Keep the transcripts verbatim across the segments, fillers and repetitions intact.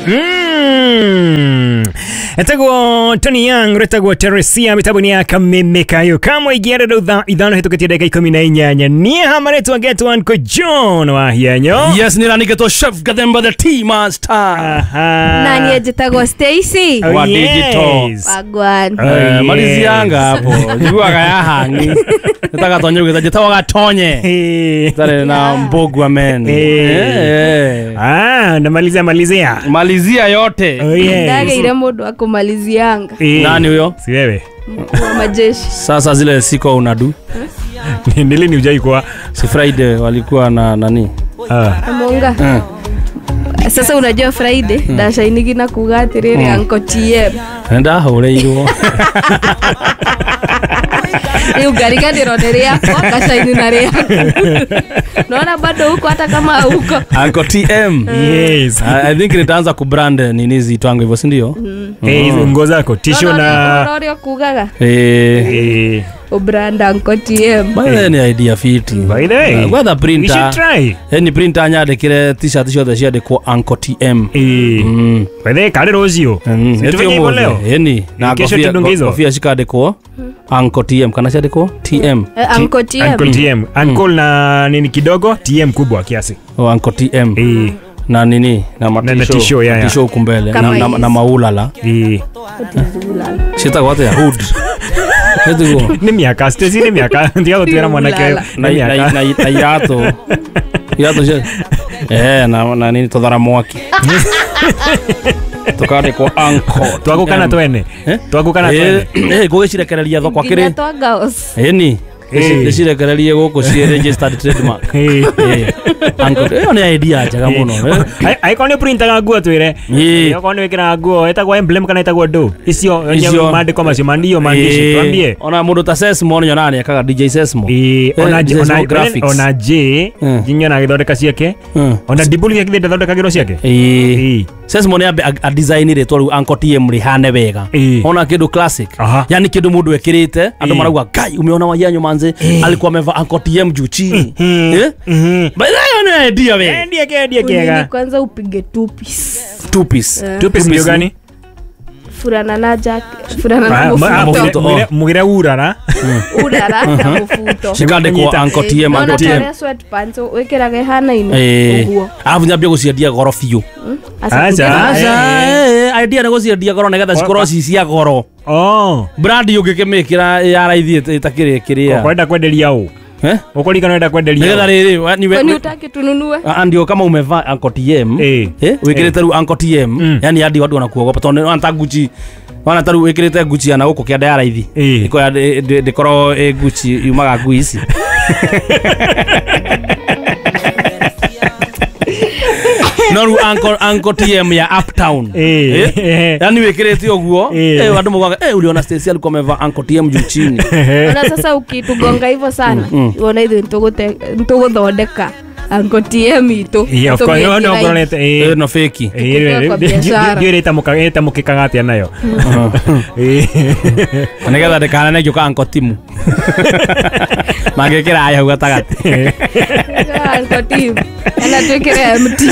Mm. Etagwo Tony Young retagwo Teresia mitabuni ya kamemekayo kamwe igiere rutha ithano hitukitie ndagika ikumi na inyanya nie hamaretwa get one ko John wa hianyo. Yes, niraniketwo Chef Gathemba the Tea Master. Aha. Nani ejitagwo Stacy Oh, wa yes. digital. Wagwan. Oh, Eh, yes. malizianga hapo jiguaga ya hangi nataka tonye ugita jitagwo gatonye Eh. tare na mbogwa men. Eh. Eh. Ah, namalizia malizia. Malizia yote. Oh, yes. Ndageire mundu akumalizianga. Eh. Nani huyo? Si wewe. Mkuu wa majeshi. Sasa zile siko unadu. Ni lini hujai kuwa? Si Friday walikuwa na nani? Ah. Amonga. Mm. Sasa unajua Friday mm. ndashainigi na kuga atiriri mm. Uncle T M. Nenda hureirwo. Riu ngariganirwo nĩ rĩakwa ngacaini na rĩaku. Naona bado huko hata kama huko. Uncle T M. Yes. I, I think nitaanza kubrand nini zitwangu hivyo si ndio? Mm. Eh, hizo nguo zako, tisho na ũrĩa kugaga. Eh. Eh. Ubrand Uncle T M. By the way, ni idea fiti. By the way. Whether printer. We should try. Eh, ni printer nyandĩkĩre t-shirt ciothe ciandĩkwo Uncle T M. Eh. Mm. By the way, kale rũciũ. Mm. Si tufanye hivyo leo? Eni na Kesho kofia tudunge hizo. kofia cikandĩkwo Uncle T M kana ciandĩkwo T M. Eh, Uncle T M. Uncle T M. Uncle na nini kidogo, T M kubwa kiasi. Oh, Uncle T M. Eh. Na nini na na matisho tisho, ya, ya. Matisho huku mbele na, Kama na, hizi. na maulala. Eh. Citagwo atia hood. Etiguo. Ni miaka, Stacy ni miaka. Ndiyo gũtuĩra mwanake Ulala. ni Na na miaka. na na iratũ. Iratũ cia eh na na nini tuthara mwaki. Tukandĩkwo Uncle. Twagũkana twene. Eh? Twagũkana twene. Eh, eh ngũgĩcirekereria thoko Nginya akĩrĩ. twa girls. Ĩni. Eh. Ndĩcirekererie gũkũ ciĩ registered trademark. Eh. Eh. Uncle, ĩyo nĩ idea njega mũno. eh. Angĩkorwo nĩ ũprintaga nguo twĩre. Ĩĩ. Okorwo nĩ wĩkĩraga nguo ĩtagwo emblem kana ĩtagwo ndũ. Icio Icio. maandĩko macio mandio maandishi Eh, twambie. Ona mũndũ ta Sesmo nyonaga nĩekaga D J Sesmo. Eh, ona Eh, J- Sesmo ona graphics. ona J Mm. jinyona agĩthondeka ciake. Mm. Ona Dibuli gĩkĩthĩ ndathondekagĩrwo ciake. Ĩĩ. Ĩĩ. Sesmo nĩ ambe a design rĩtwa rĩu Uncle T M rĩhane wega. Ĩĩ. Ona kĩndũ classic. Aha. Yani kĩndũ mũndũ ekĩrĩte andũ Ĩĩ. marauga Ngai umeona wayanyu manze alikuwa amevaa Uncle T M juu chini. Eh? Mhm. By the way, nĩ idea we. Endie kendie Unini kega. kwanza upige two piece. Two piece. Two piece ndio gani? Furana na jack, furana na Ah, ma- ah, mufuto. mufuto. mugire- mugire urara. Urara na mufuto. Cikandĩkwo Uncle T M Nona Uncle T M. tarĩa sweatpants wĩkĩraga ĩhanaine Eh. ũguo. Arabu nyambie gũciendia goro biũ. Aca Aca. tuge na- Aca, eh, idea nĩ gũciendia goro nĩgetha cikorwo ci cia goro. Oh. Brand ũngĩkĩmĩkĩra ya raithi ĩtakĩrĩ kĩrĩa. Ũkwenda kwenderia ũ? Eh? Ũkũririkana ũrenda kwenderia Nĩgetha ũ? rĩrĩ wa- ni we- Kwani utaki tununue? Ah, ndio kama umevaa Uncle T M. Eh. Eh, wĩkĩrĩte rĩu Uncle T M. Mm. Yani hadi watu wanakuogopa tondũ wana ta Gucci. Wana ta rĩu wĩkĩrĩte Gucci ya na gũkũ kĩanda ya raithi. Eh. Ĩko ya ndĩkorwo ĩ Gucci yumaga ngui ici. No rĩu Uncle Uncle T M ya Uptown. Eh. Eh? Yani wĩkĩrĩte ũguo Eh. eh andũ mogaga eh uliona Stacy alikuwa amevaa Uncle T M juu chini. Ona sasa ukitugonga hivyo sana wona ithuĩ nĩtũgũthondeka Uncle T M itũ. Yeah, of course. No, no, Tũmĩkĩra ũronete, eh. Eh no fake. Eh, kwa biashara. ndiũĩ ĩtamũka- ĩtamũkĩkaga atĩa nayo. Eh. Nĩgetha ndĩkanane ngĩũka Uncle Timu. Mangĩkĩra haya hau gatagatĩ. Uncle T M. Kana twĩkĩre M T.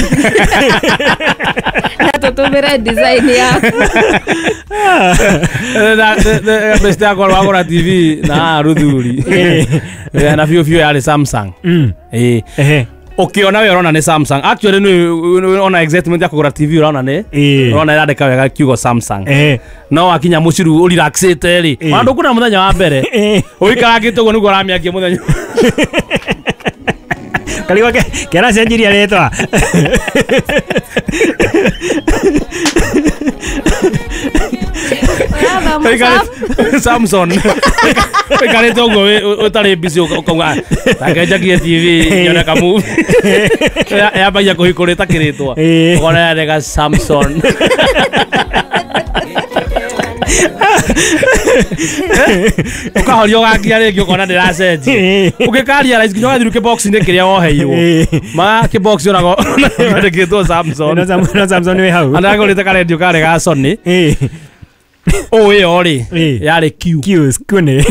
Na tũtũmĩre design yaku. Best yakwa wagũra T V na ruthuri. Eh, na biũ biũ yarĩ Samsung. Mm. Eh. Ehe. Ũkĩona we ũrona nĩ Samsung. Actually nĩ ona excitement ya kũgũra T V ũrona nĩ Ĩĩ. ũrona ĩrandĩka wega kiugo Samsung. Ehe. No wakinya mũciĩ rĩu ũrelaxĩte rĩ. Ĩĩ. Ona ndũkuona mũthenya wa mbere. Ĩĩ. Ũikarangĩte ũguo nĩguo ũramĩakia mũthenya. Karigwa ke keracenjiria rĩtwa. Ũrathoma Samson. Ũikarĩte ũguo wĩ- ũtarĩ busy ũkauga take njakie T V nyone ka movie. Ya- Yambagia kũhingũra ĩtakĩrĩtwo. Ĩĩ. Ũkona yandĩka Samson. Ũkahoria ũgakia rĩngĩ ũkona ndĩracenjia. Ũngĩkaria raithi nginya ũgathiĩ kĩbox-inĩ kĩrĩa woheirwo. Maga kĩbox onago kĩandĩkĩtwo Samson. No Sam- no Samson wĩ hau. Andagũrĩte karendio karĩ ga Sony. Eh. O ĩyo rĩ Ĩĩ. yarĩ Q. Q skune.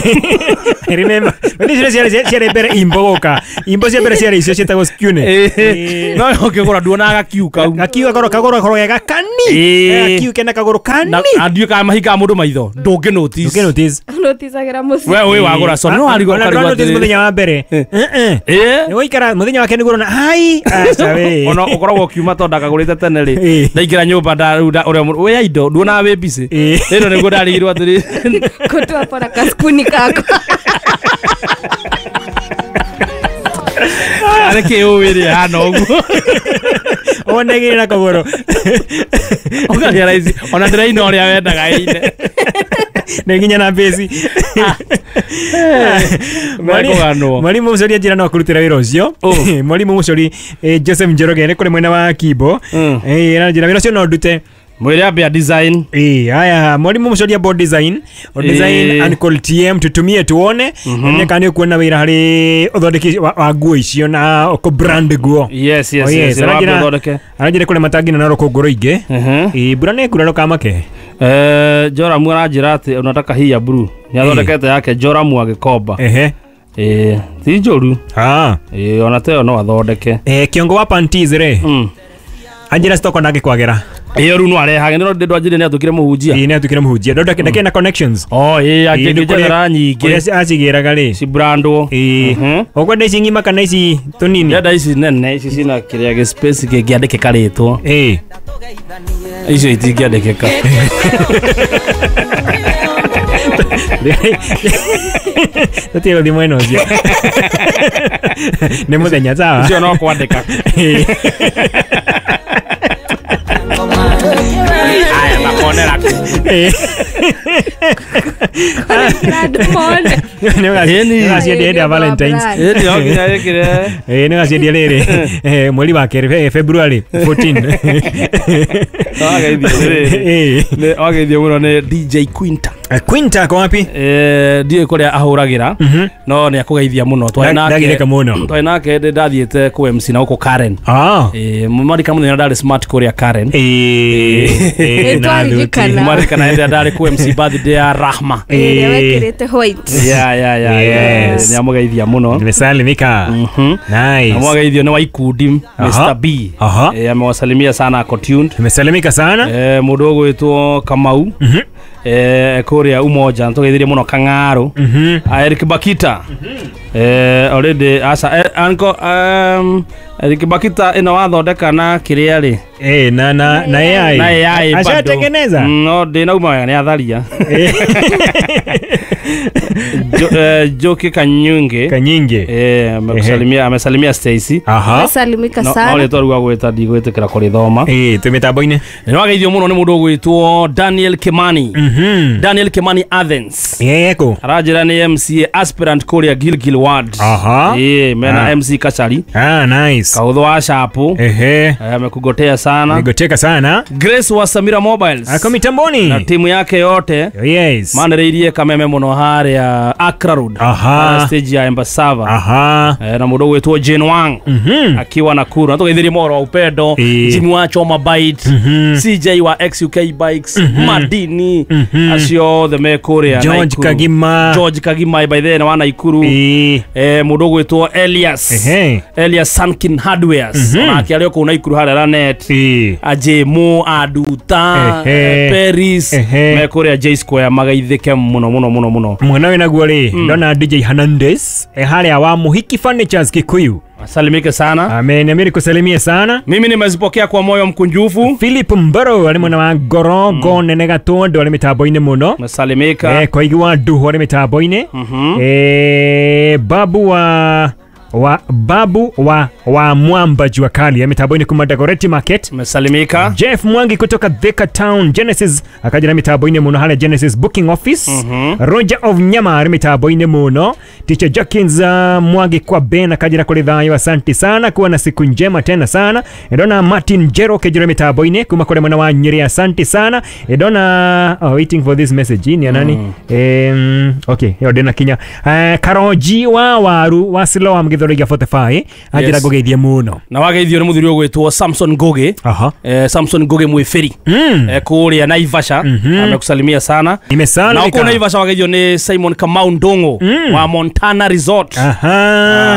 I remember. But icio ciarĩ ciarĩ mbere imbo gũka. Imbo cia mbere ciarĩ icio ciĩtagwo skune. Ĩĩ. No ũkĩgũra nduonaga Q kau. Gakiu gakoro kagũrũ gakoro gega kani. Ĩĩ. Gakiu kena kagũrũ kani. Na andiũ kana mahingaga mũndũ maitho ndũngĩ notice. Ndũngĩ notice. Noticagira mũciĩ. We wĩ wagũra Sony no warigwo Ona ũkarigwo ndũra notice atĩrĩrĩ. mũthenya wa mbere. Eh eh. Ĩĩ. Nĩ gũikara mũthenya wake nĩguo ũrona ai aca we. Ona ũkoragwo ũkiuma tondũ ndakagũrĩte tene rĩ Ĩĩ. ndaingĩra nyũmba nda- rĩu nda- ũrĩa mũndũ- wĩ ya indo nduonaga wĩ busy. Ĩĩ. Rĩno nĩguo ndarigirwo atĩrĩ Kũtua pora kaskuni kakwa. arĩ kĩ ũĩ rĩ hana ũguo. Wonagĩrĩra na kagũrũ. Ũkaria raici ona ndĩraina ũrĩa wendaga ĩine. Nĩ nginya na mbĩci. Mekũganwo. Mwalimu Mũcori anjĩra no akũrutĩra wĩra ũcio. Ũ. Mwalimu Mũcori eh, Joseph Njoroge nĩ kũrĩ mwena wa Kimbo. Mm. Eh, aranjĩra wĩra ũcio no ndute. Mwĩre ambia design. Eh, haya mwalimu Mũcori board design, o design Eh. Uncle T M tutumie tuone mm kana nĩ ũkuona wĩra harĩ ũthondeki wa wa nguo icio na ũkũ brand nguo. Yes, yes, Oh, yes. yes. Wambe Aranjĩra- ũthondeke. Aranjĩra kũrĩ matangi na rũkũngũ rũingĩ. Mhm. Eh, mbura nĩ ĩkura ndũkamake. Eh, Joramu aranjĩra atĩ unataka hii ya blue. Nĩ athondekete yake Joramu agĩkomba. Ehe. Eh, ti njũru. Ah. Eh, ona teyo no athondeke. Eh, kiongo wa panties rĩ. Mm. Anjĩra stoko ndangĩkwagĩra. Ĩyo rĩu no arehage nĩ ndĩ ndwanjĩrire nĩ atũkire mũhunjia. Ĩĩ nĩ atukire mũhunjia. Ndonda ndakĩrĩ na connections. Oh, ĩĩ Ĩĩ, nĩ kũrĩa- angĩnjethera nyingĩ. Kũrĩa acigĩraga rĩ. Cibrandwo. Ĩĩ. Mhm. Ũkwenda ici ng'ima kana ici tũnini? Ndĩrenda ici nene ici cina kĩrĩa gĩ space kĩngĩandĩkĩka rĩtwa. Ĩĩ. Icio itingĩandĩkĩka. Tũtige gũthiĩ mwena ũcio. Nĩ mũthenya sawa. Icio no kwandĩka. Ĩĩ. Aya makonera kũ. Ĩĩ. Kũrekera andũ mone. Nĩ ũgaci- Ĩni. nĩ ũgaciendia hĩndĩ ya Valentines. Ĩĩ no nginya ĩkĩre. Ĩĩ nĩ ũgaciendia rĩrĩ eh, mweri wa kerĩ eh, February fourteen. Wageithio rĩrĩ. Ĩĩ. Nĩ wageithio mũno nĩ D J Quinta. Eh, Quinta ako wapi? Eh, ndiũĩ kũrĩa ahũragĩra Mhm. no nĩ akũgeithia mũno. Twarĩ Nda- nake ndagirĩka mũno. twarĩ nake ndĩ ndathiĩte kũ M C na gũkũ Karen. Ah. Eh, marika mũthenya ndarĩ smart kũrĩa Karen. Ĩĩ. Ĩĩ, Nĩ na twaririkana. thuti. Marika na hĩndĩ ĩrĩa ndarĩ kũ M C birthday ya Rahma. Ĩrĩa wekĩrĩte white. Yeah, yeah, yeah, yeah. Yes. Nĩ amũgeithia mũno. Nimesalimika. Mhm. Nice. Amwageithio nĩ wa ikundi Aha. Mister B. Aha. Eh, amewasalimia sana ako tuned. Nimesalimika sana. Eh, mũndũ ũgwĩtwo Kamau. Mhm. Eh, kũrĩa Umoja nĩtũgeithirie mũno Kang'aru. Mhm. Ah, Eric Bakita. Eh, already asa eh, anko um, Eric Bakita ĩno wathondeka na kĩrĩa rĩ Eh, na na na A I. na A I bado. Ashatengeneza. Mm, no ndĩnauma wega nĩ atharia. Eh, Jo, eh, Joki Kanyunge Kanyinge. eh, amekusalimia amesalimia Stacy. Aha. Salimika No, no sana. rĩtwa rĩu agwĩta ndigwĩtĩkĩra kũrĩthoma. Eh, twĩ mĩtambo-inĩ. Nĩ wageithio mũno nĩ mũndũ ũgwĩtwo Daniel Kimani. Mhm. Daniel Kimani Athens. Yeko. Aranjĩra nĩ M C A aspirant kũrĩa Gilgil Ward. Aha. Ĩĩ, mena Ah. M C Kachari. Ah, nice. Kaudho wa Shapu. Ehe. Eh, amekugotea sana. Nigoteka sana. Grace wa Samira Mobiles. Ako Na mitamboni. timu yake yote Yes. manereirie kameme mũno harĩa Accra Road. Aha. Harĩa stage ya Embassava. Aha. Eh, na mũndũ ũgwĩtwo Jane Wang. Mhm. Akiwa Nakuru. Na tũgeithirie mohoro wa upendo. Ĩĩ. Jimmy wa Choma Bite. Mhm. C J wa X U K Bikes. Madini. Mhm. Acio othe me kũrĩa George Naikuru. Kagima. George Kagima by the way wa Naikuru. Ĩĩ. Eh, mũndũ ũgwĩtwo Elias. Ehe. Elias Sankin Hardwares. Mhm. Onake arĩ o kũu Naikuru harĩa Lanet. Ĩĩ. Ajemo Aduta Ehe. eh, Paris Ehe. me kũrĩa J Square magaithĩke mũno mũno mũno mũno. Mwena wĩ naguo rĩ ndona D J Hernandez e harĩa wa Muhiki Furnitures Kikuyu. Asalimike sana. Amen, amiri kusalimia sana. Mimi nimezipokea kwa moyo mkunjufu. Philip Mbaro arĩ mwena wa Ngorongo nene Gatondo arĩ mĩtambo-inĩ mũno. Mesalimika. Eh, Koigi wa Nduhu arĩ mĩtambo-inĩ. Mhm. Eh, babu wa wa babu wa wa Mwamba Jua Kali ya mitambo-inĩ kuma Dagoretti Market. Mesalimika. Jeff Mwangi kutoka Thika Town Genesis akaja na mitambo-inĩ mũno harĩa Genesis Booking Office. Mhm. Roger of Nyama arĩ mitambo-inĩ mũno. Teacher Jackins uh, Mwangi kwa Ben akaja na kũrĩ thayũ, asante sana, kuwa na siku njema tena sana. Ndona Martin Jero kejera mitambo-inĩ kuma kũrĩ mwena wa Nyeri, asante sana. Ndona oh, waiting for this message ni ya nani? Mm. Um, okay, hiyo ndina kinya. Uh, Karoji wa Waru wa Siloam Githurai Githurai forty-five anjira Yes. ngugeithie muno Na wageithio nĩ mũthuri ũgwĩtwo Samson Ngugi. Aha. Eh, Samson Ngugi mwĩbĩri. Mm. Eh, kũrĩa Naivasha. Amekusalimia sana. Na Nimesalimika. kũu Naivasha wageithio nĩ Simon Kamau Ndung'u wa Montana Resort. Aha.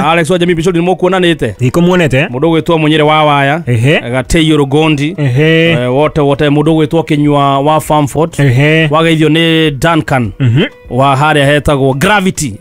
Ah, Alex wa Jamii Bishop nĩ mũkuonanĩte. Ikumuonete. Mũndũ ũgwĩtwo Mũnyere wa Waya. Ehe. Gateiyo Rugondi. Ehe. Eh, wote wote mũndũ ũgwĩtwo Kinyua wa Farmford. Ehe. Wageithio nĩ Duncan wa harĩa hetagwo Gravity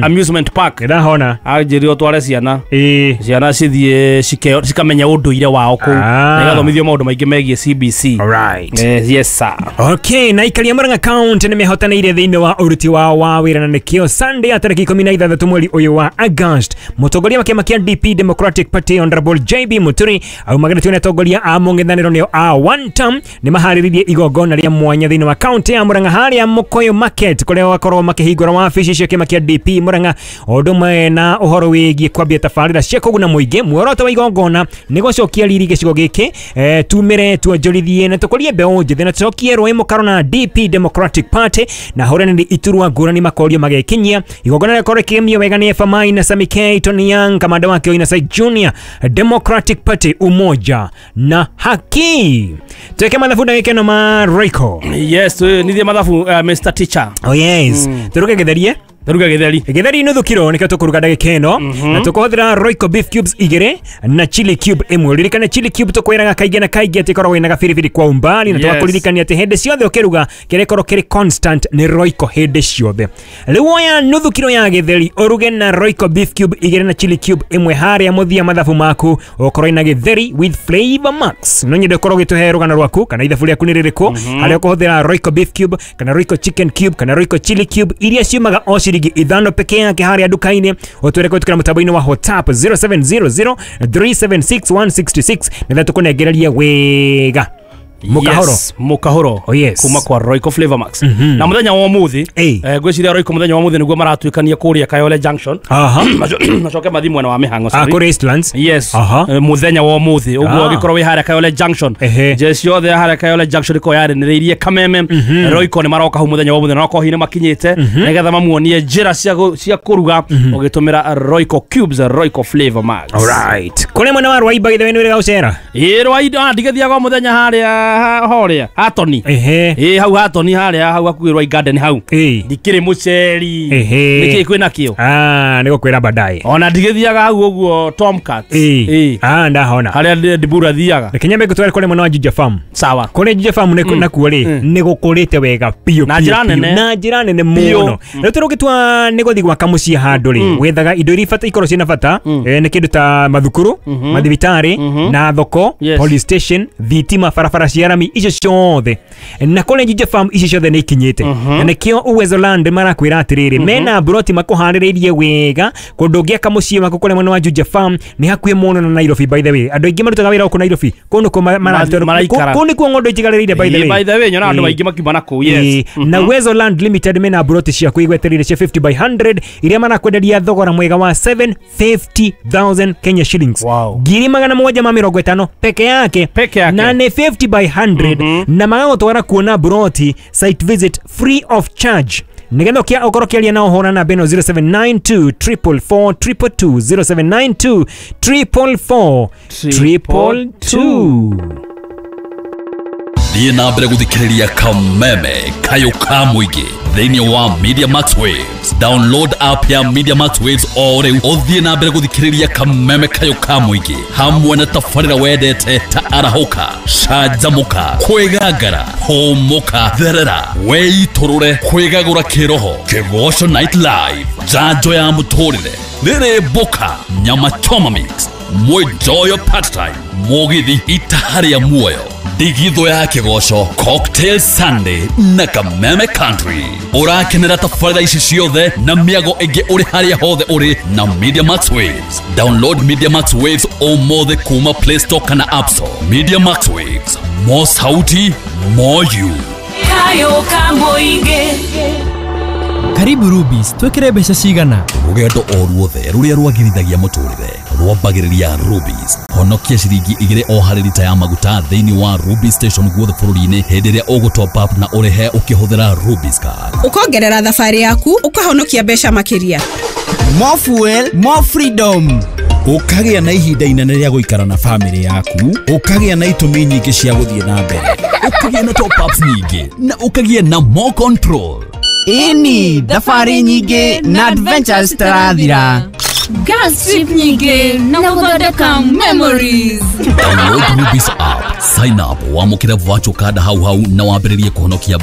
Amusement Park. Ndahona. Anjĩrire tware ciana. Eh. Ciana cithiĩ cike- cikamenya ũndũire wao kũu Ah. na igathomithio maũndũ maingĩ megiĩ C B C. All right. Eh, yes sir. Okay, na ikaria Murang'a County nĩ mehotanĩire thĩinĩ wa ũruti wao wa wĩra na nĩkĩo Sunday ya tarĩki ikũmi na ithathatũ mweri ũyũ wa August mũtongoria wa kĩama kĩa D P Democratic Party Honorable J B Muturi aumaganĩtio nĩ atongoria a mũng'ethanĩro nĩo a one term nĩ maharĩrĩirie igongona rĩa mwanya thĩinĩ wa county ya Murang'a harĩa Mũkũyũ Market kũrĩa gwakorwo makĩhingũra wabici cia kĩama kĩa D P Murang'a o ũndũ ũmwe na ũhoro wĩgiĩ kwambia tabarĩra cia kũguna mũingĩ. Muoroto wa igongona nĩ gũcokia riri gĩcigo gĩkĩ eh, tumĩre tuonjorithie na tũkũrie mbeũ njĩthĩ na tũcokie rũĩ mũkaro na D P Democratic Party na hũranĩri iturwa ngũrani makorio magekinyia. Igongona rĩkorwo rĩkĩgemio wega nĩ F M I na Sami K Tony Young kamanda wake Oina Sai Junior Democratic Party umoja na haki. Tuweke mathabu ndagĩka ĩno ma Royco. Yes, nithiĩ mathabu uh, Mister Teacher. Oh yes. Turuge gĩtherie. Turuge gĩtheri. Gĩtheri nuthu kiro nĩkĩo tũkũruga ndagĩka ĩno na tũkũhũthĩra Royco beef cubes igĩrĩ na chili cube ĩmwe. Ririkana chili cube tũkwĩraga kaingĩ na kaingĩ atĩ ĩkoragwo ĩna gabiribiri kwa umbali na Yes. tũgakũririkania atĩ hĩndĩ ciothe ũkĩruga kĩrĩa ĩkorwo kĩrĩ constant nĩ Royco hĩndĩ ciothe. Rĩu oya nuthu kiro ya gĩtheri ũruge na Royco beef cube igĩrĩ na chili cube ĩmwe harĩa mũthia mathabu maku ũkorwo ina gĩtheri with flavor max. No nyende ũkorwo ũgĩtũhe rũgano rwaku kana ithabu rĩaku nĩ rĩrĩkũ harĩa ũkũhũthĩra Royco beef cube kana Royco chicken cube kana Royco chili cube iria ciumaga o ciringi ithano peke yake harĩa nduka-inĩ. Ũtwĩre kũhĩtũkĩra mũtambo-inĩ wa WhatsApp zero seven zero zero three seven six one six six nĩgetha tũkũnengereria wega. Mũkahoro. Yes, mũkahoro. Oh, yes. Kuma kwa Royco Flavor Max. Na mũthenya wa ũmũthĩ Ĩĩ. eh, ngwĩciria Royco mũthenya wa ũmũthĩ nĩguo maratuĩkania kũrĩa Kayole Junction. Aha. Macoke mathiĩ mwena wa Mĩhang'o, Ah, sorry. kũrĩa Eastlands. Yes. Aha. Eh, mũthenya wa ũmũthĩ ũguo Ah. ũngĩkorwo wĩ harĩa Kayole Junction. Ehe. Jeshi yothe ya harĩa Kayole Junction ĩkorwo yaranĩrĩirie Kameme. Royco nĩ maroka hau mũthenya wa ũmũthĩ na okorwo hihi nĩ makinyĩte nĩgetha mamuonie njĩra cia gũ- cia kũruga ũgĩtũmĩra Royco cubes, Royco Flavor Max. Alright. Kũrĩa mwena wa Rwaiba gĩthwe nĩ wĩrĩga gũcera. Ĩ Rwaiba ndigĩthiaga o mũthenya harĩa harĩa Hatoni. Ehe. Ĩ hau Hatoni harĩa hau hakuhĩ Rwai Garden hau. Ĩ. Ndikĩrĩ mũceri. Ehe. Nĩkĩĩ kwĩna kĩo? Ah, nĩgũkwĩra baadaye. Ona ndigĩthiaga hau ũguo Tomcat. Ĩ. Ĩ. Ah, ndahona. Harĩa Ndibura thiaga. Reke nyambe ngũtware kũrĩa mwena wa Juja Farm. Sawa. Kũrĩa Juja Farm nĩ nakuo rĩ nĩ gũkũrĩte wega biũ Na biũ, njĩra biũ. nene. Na njĩra nene Biũ. mũno. Rĩu tũrĩ ũgĩtua nĩ gũthiĩ gwaka mũciĩ handũ rĩ wethaga indo iria ibata ikorwo ciĩna bata eh, nĩ kĩndũ ta mathukuru, mathibitarĩ na thoko, Yes. police station, thitima, barabara cia rami icio ciothe. Na kũrĩa Juja Farm icio ciothe nĩ ikinyĩte. Na nĩkĩo Uwezo Land marakwĩra atĩrĩrĩ mena mburoti makũharĩrĩirie wega kũndũ ũngĩaka mũciĩ waku kũrĩa mwena wa Juja Farm nĩ hakuhĩ mũno na Nairobi by the way. Andũ aingĩ marutaga wĩra gũkũ Nairobi kũu nĩkuo ma- maratwarwo- maraikara. kũu nĩkuo ng'ondo itigarĩrĩire by the way. By the way nyonaga andũ Ĩ. aingĩ makiuma na kũu. Yes. Ĩ, na Uwezo Land Limited mena mburoti ciaku igwetereire cia fifty by hundred iria marakwenderia thogora mwega wa seven fifty thousand Kenya shillings. Wow. Ngiri magana mũgwanja ma mĩrongo ĩtano peke yake. Peke yake. Na nĩ fifty by hundred na magagũtwara kuona mburoti site visit free of charge. Nĩgetha ũkĩa ũkorwo ũkĩaria nao hũra namba ĩno zero seven nine two triple four triple two zero seven nine two triple four triple two. Thiĩ na mbere gũthikĩrĩria Kameme Kayũ ka mũingĩ thĩinĩ wa Media Max Waves. Download app ya Media Max Waves o rĩu ũthiĩ na mbere gũthikĩrĩria Kameme Kayũ ka mũingĩ hamwe na tabarĩra wendete ta arahũka, canjamũka, kwĩgangara, hũmũka, therera, wĩitũrũre, kwĩgagũra kĩroho, Kĩgoco Night Live, njanjo ya mũtũrĩre, rĩrĩ mboka, nyama choma mix, mwĩnjoyo part time, mũgithi itaha rĩa muoyo, ndigithũ ya kĩgoco, Cocktail Sunday na Kameme Country. Ũrakenera tabarĩra ici ciothe na mĩago ĩngĩ ũrĩ harĩa hothe ũrĩ na Media Max Waves. Download Media Max Waves ũmũthĩ kuma Play Store kana App Store. Media Max Waves, more sauti, more you. Kayo ka mũingĩ. Karibu Rubis, twekere mbeca cigana. Rũgendo o ruothe rũrĩa rwagĩrithagia mũtũrĩre Rwambagĩrĩria Rubis. Honokia ciringi igĩrĩ o harĩ rita ya maguta thĩinĩ wa Rubis station guothe bũrũri-inĩ hĩndĩ ĩrĩa ũgũ top up na ũrĩhe ũkĩhũthĩra Rubis card. Ũkongerera thabarĩ yaku, ũkahonokia mbeca makĩria. More fuel, more freedom. Ũkagĩa na ihinda inene rĩa gũikara na famĩlĩ yaku, ũkagĩa na itũmi nyingĩ cia gũthiĩ na mbere, ũkagĩa na top ups nyingĩ na ũkagĩa na more control. Ĩni, thabarĩ nyingĩ na adventures citarathira. Gas trip nyingĩ na gũthondeka memories. Download Rubis app, sign up, wamũkĩre virtual card hau hau na wambĩrĩrie kũhonokia.